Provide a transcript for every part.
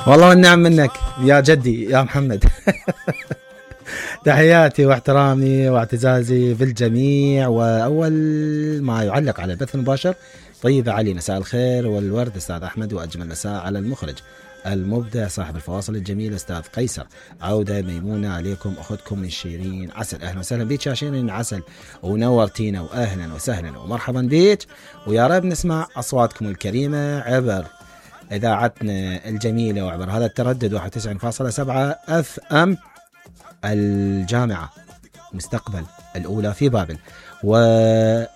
والله والنعم منك يا جدي يا محمد. تحياتي واحترامي واعتزازي بالجميع. وأول ما يعلق على البث المباشر طيب علي مساء الخير والورد أستاذ أحمد، وأجمل مساء على المخرج المبدع صاحب الفواصل الجميلة أستاذ قيصر. عودة ميمونة عليكم أخذكم من شيرين عسل. أهلا وسهلا بيك يا شيرين عسل، ونورتينا وأهلا وسهلا ومرحبا بيك، ويا رب نسمع أصواتكم الكريمة عبر إذاعتنا الجميلة وعبر هذا التردد 91.7 FM الجامعة مستقبل الأولى في بابل. وأذكركم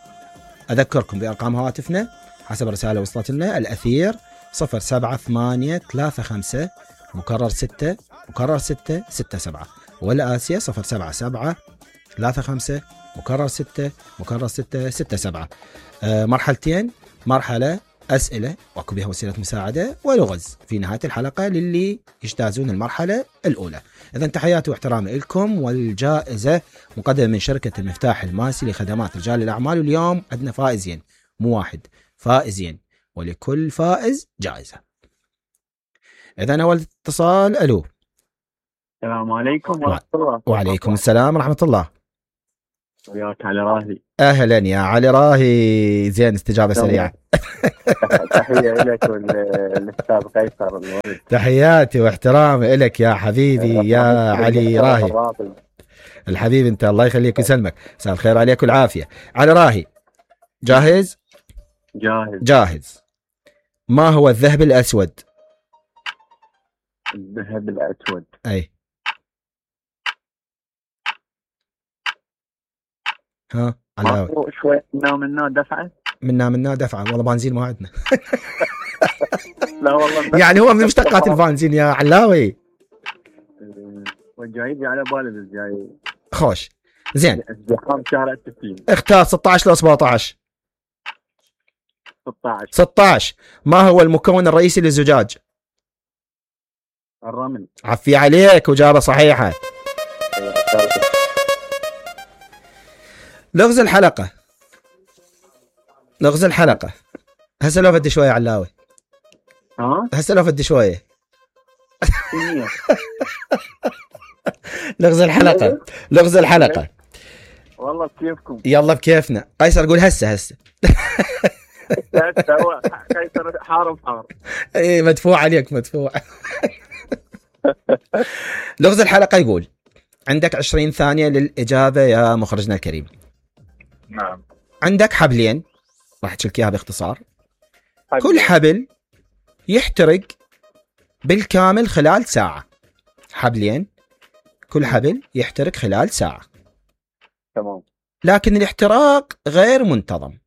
بأرقام هواتفنا حسب رسالة وصلت لنا: الأثير 07835 مكرر 6 مكرر 6 67، والآسيا 077 35 مكرر 6 مكرر 6 67. مرحلتين: مرحلة أسئلة واكو بها وسيلة مساعدة، ولغز في نهاية الحلقة للي يجتازون المرحلة الأولى. إذا تحياتي واحترامي لكم، والجائزة مقدمة من شركة المفتاح الماسي لخدمات رجال الأعمال. واليوم عندنا فائزين، مو واحد، فائزين، ولكل فائز جائزة. إذا أول اتصال. ألو، السلام عليكم ورحمة الله. وعليكم السلام ورحمة الله. وياك علي راهي. أهلا يا علي راهي، زين استجابة سريعة. تحية لك والأستاذ قيصر. تحياتي واحترامي لك يا حبيبي يا علي راهي. الحبيب أنت، الله يخليك ويسلمك. مساء الخير عليك والعافية. علي راهي جاهز؟ جاهز. ما هو الذهب الأسود؟ الذهب الأسود أي ها علاوي شوي منا دفعة منا دفعة. والله بنزين ما عندنا. لا والله يعني هو من مشتقات البنزين يا علاوي. والجايب على بالي الجاي خوش. زين، ازدحام شهر 60. اختار 16 لو 17. 16. 16. ما هو المكون الرئيسي للزجاج؟ الرمل. عفي عليك، وجابة صحيحة. لغز الحلقة. لغز الحلقة هسه لو بدي شوية علاوي. هسه لو بدي شوية. لغز الحلقة. لغز الحلقة. والله بكيفكم. يلا بكيفنا. قيصر قول هسه. قيصر حار. ايه مدفوع عليك مدفوع. لغز الحلقة يقول: عندك 20 ثانية للإجابة يا مخرجنا الكريم. نعم. عندك حبلين، راح تشلك اياها باختصار. كل حبل يحترق بالكامل خلال ساعة. حبلين، كل حبل يحترق خلال ساعة. تمام. لكن الاحتراق غير منتظم.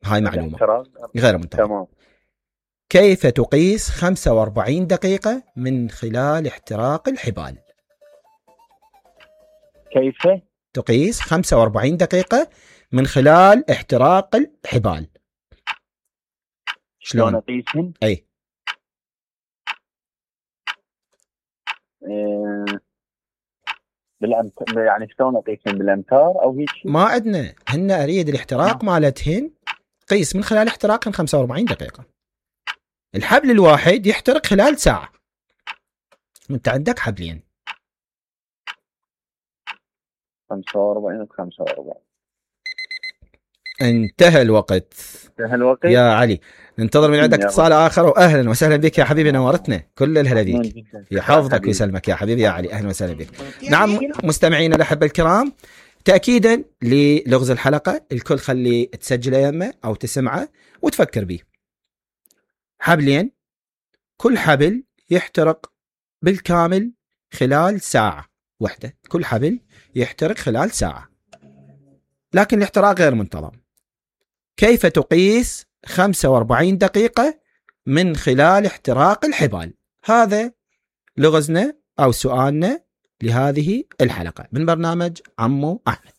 هاي معلومة غير منتظم. تمام. كيف تقيس 45 دقيقة من خلال احتراق الحبال؟ كيف تقيس 45 دقيقة من خلال احتراق الحبال؟ شلون أقيسهم؟ أي يعني شلون أقيسهم بالأمتار أو هيك شيء؟ ما عندنا، هن أريد الاحتراق مالتهن قيس من خلال احتراقهن 45 دقيقة. الحبل الواحد يحترق خلال ساعة، وانت عندك حبلين. 45 و45. انتهى الوقت. يا علي ننتظر من عندك اتصال آخر. وأهلا وسهلا بك يا حبيبي، نورتنا. كل الهلا بيك، يحفظك ويسلمك يا حبيبي يا علي. أهلا وسهلا بك. نعم مستمعينا الأحبة الكرام، تأكيدا للغز الحلقة الكل خلي تسجله يمه أو تسمعه وتفكر به. حبلين، كل حبل يحترق بالكامل خلال ساعة واحدة. كل حبل يحترق خلال ساعة، لكن الاحتراق غير منتظم. كيف تقيس 45 دقيقة من خلال احتراق الحبال؟ هذا لغزنا أو سؤالنا لهذه الحلقة من برنامج عمو أحمد.